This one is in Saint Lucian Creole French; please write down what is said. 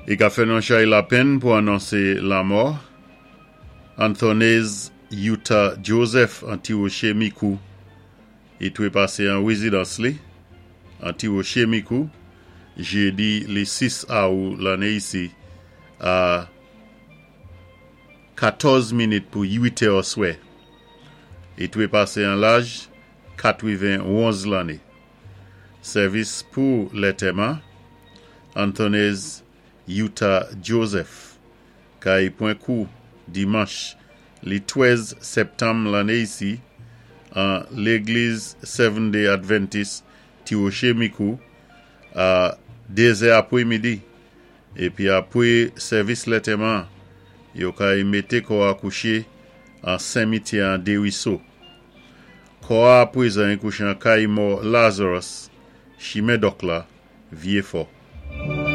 I ka fè nou chay lapenn pou anonsé lamò Anthonese Utah Joseph an Ti Woché Mikou. I twépasé an wézidans li an Ti Woché Mikou jédi li 6 Awou lanné isi a 14 minit pou 8 è oswè. I twépasé an laj 91 lanné. Sèvis pou lètèman Anthonese Utah Joseph kay pwan kou dimanch li 13 sèptanm lanné isi an légliz Seventh Day Adventist Ti Woché Mikou a 2 zè apwé midi épi apwé sèvis lètèman yo kay mété kò a kouché an senmityè an Deriso. Kò a apwézan i kouché an kay mò Lazarus, chimen Dòk la, Vyé Fò.